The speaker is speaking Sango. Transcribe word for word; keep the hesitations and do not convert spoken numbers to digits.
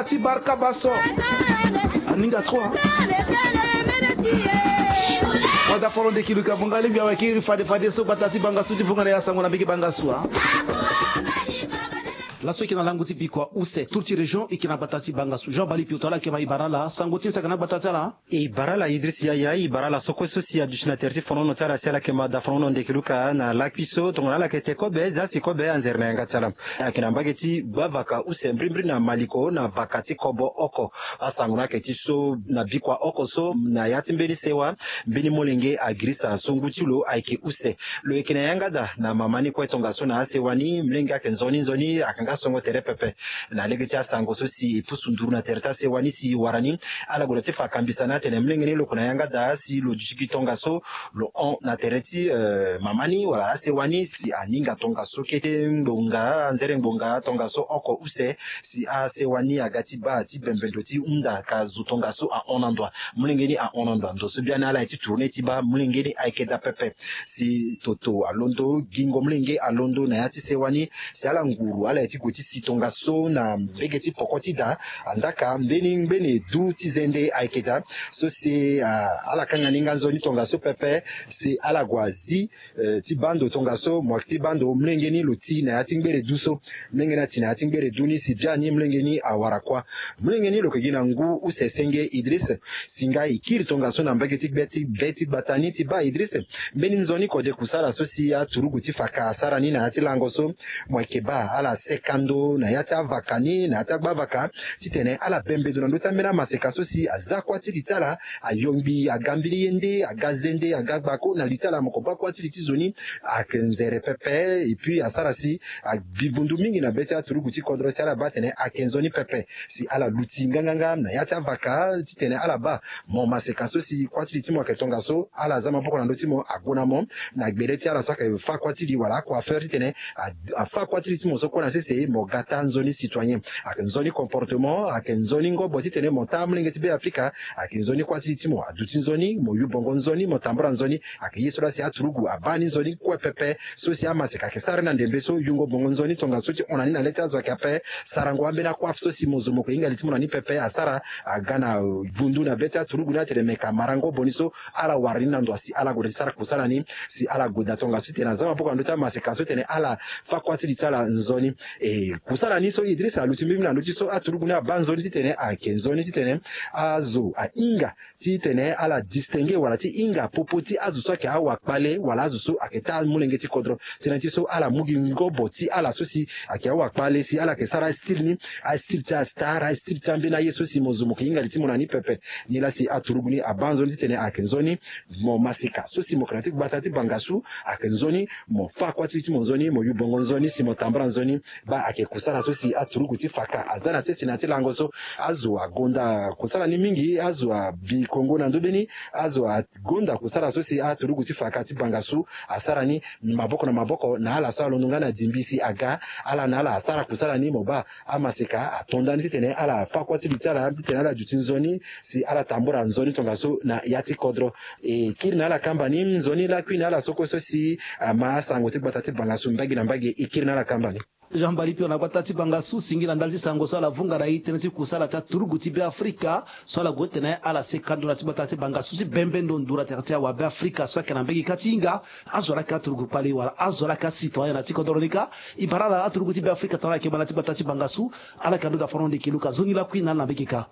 Ti barka baso. Aninga trois. Wada foro ndeki luka bonga lingbi awe kiri fade fade so gbata ti bangasu ti vunga na ya sango na mbege bangasu a. Laso eke na lango ti bikua use tour ti région eke na gbata ti bangasu Jean Bali Pioto ala eke ma ibara ala sango ti nsaka na gbata ti ala. Ibara ala Idriss Yaya, ibara ala sokue so si aduti na tere ti fonono ti ala si ala yeke ma da fonono ndeke luka na lakui so tongana ala yeke te kobe za si kobe anzere na yanga ti ala. Ayeke na mbage ti gbavaka use mbrimbri na maliko na vaka ti kobo oko. Asango ni ayeke ti so na bikua oko so na ya ti mbeni sewa mbeni molenge agirisa so ngu ti lo ayeke use. Lo yeke na yanga daa na mama ni kue tongaso na asewa ni mlenge ayeke nzoni nzoni ayeke nga songo tere pepe. Na lege ti asango so si e pusu nduru na tere ti asewa ni si e wara ni, ala gue daa ti fa kambisa ni atene mlenge ni lo yeke na yanga daa si lo duti gi tongaso lo hon na tere ti eh, mama ni wala asewa ni si aninga tongaso kete ngbonga anzere ngbonga tongaso oko use. Si asewa ni aga ti baa ti bembendo ti hunda ka zo tongaso ahon na ndo a. Molenge ni ahon na ndo a ndo so biani ala ye ti tourne ti baa molenge ni ayeke daa pepe. Si toto alondo gingo molenge alondo na ya ti sewa ni. Si ala nguru ala ye ti gue ti si tongaso na mbege ti poko ti da. Andaka mbeni ngbene du ti zende ayeke daa so si ah, ala kanga ni nga nzoni tongaso pepe. Si ala gue azi eh, ti baa ndo tongaso mo yeke ti baa ndo molenge ni lo ti na ya ti ngbere du so. Molenge ni ati na ya ti ngbere du ni si biani molenge ni awara kuâ. Molenge ni lo yeke gi na ngu use senge Idriss. Si nga e kiri tongaso na mbage ti gbe ti be ti gbata ni ti baa Idriss. Mbeni nzoni kode kusala so si aturugu ti faka asara ni na ya ti lango so. Mo yeke baa ala seka ndo na ya ti avaka ni na ya ti agbavaka titene ala bembe ndo na ndö ti ambeni amaseka so si aza kuâ ti li ti ala. Ayongbi aga mbeni ye nde aga zende aga gbako na li ti ala mo ko baa kuâ ti li ti zo ni. Ayeke nzere pepe. Et puis asara si abi vundu mingi na be ti aturugu ti kodro si ala baa atene ayeke nzoni pepe. Si ala luti nganganga na ya ti avaka titene ala baa mo maseka so si kuâ ti li ti mo ayeke tongaso ala za maboko na ndö ti mo ague na mo na gbele ti ala so ayeke fâ kuâ ti li wala acoiffeur titene afâ kuâ ti li ti mo so kue na sese mo ga taa nzoni citoyen. Ayeke nzoni comportement ayeke nzoni ngobo titene mo taa molenge ti be afrika. Ayeke nzoni kuâ ti li ti mo aduti nzoni mo yu bongo nzoni mo tambula nzoni. Ayeke ye so laa si aturugu abaa ni nzoni kue pepe. So si amaseka ayeke sara ni na ndembe so yungo bongo nzoni tongaso ti hon na ni na le ti azo ayeke ape. Sarango ambeni akuâfe so si mo zo mo yeke hinga li ti mo na ni pepe asara aga na vundu na be ti aturugu ni atene meka marango boni so ala wara ni na ndo asi ala gue daa ti sara kusala ni. Si ala gue daa tongaso titene aza maboko na ndö ti amaseka so titene ala fâ kuâ ti li ti ala nzoni. E kusala ni so Idriss aluti mbirimbiri na ndö ti so aturugu ni abaa nzoni titene ayeke nzoni titene azo ahinga titene ala distinguer wala ti hinga popo ti azo so ayeke awakpale wala azo so ayeke taa molenge ti kodro. Tënë ti so ala mu gi ngobo ti ala so si ayeke awakpale si ala yeke sara astyle ni. Astyle ti astar astyle ti ambeni aye so si mo zo mo yeke hinga li ti mo na ni pepe. Nilaa si aturugu ni abaa nzoni titene ayeke nzoni mo maseka so si mo yeke na ti gbata ti bangasu. Ayeke nzoni mo fâ kuâ ti li ti mo nzoni mo yu bongo nzoni si mo tambula nzoni. Baa ayeke kusala so si aturugu ti faka aza na sese na ya ti lango so. Azo agonda kusala ni mingi azo abi kongo na ndö be ni. Azo agonda kusala so si aturugu ti faka ti bangasu asara ni maboko na maboko na ala so alondo nga na dingbi si aga ala na ala asara kusala ni mo baa amaseka ato ndani titene ala fâ kuâ ti li ti ala titene ala duti nzoni si ala tambula nzoni tongaso na ya ti kodro. E kiri na ala kamba ni nzoni lakui na ala so kue so si ama asango ti gbata ti bangasu mbage na mbage e kiri na ala kamba ni. Jean Bali Pio na gbata ti bangasu singila ndali ti sango so ala vunga na e tënë ti kusala ti aturugu ti be afrika so ala gue titene ala seka ndo na ti gbata ti bangasu ti bembe ndo nduru na tere ti awabe afrika so ayeke na mbage ka ti hinga azo ala yeke aturugu kpale wala azo ala yeke acitoyen na ti kodoro ni kâ. E bara ala aturugu ti be afrika tongana ala yeke ma na ti gbata ti bangasu ala yeke ando daa foro ndeke luka zo ni lakui na ala na mbage kâ.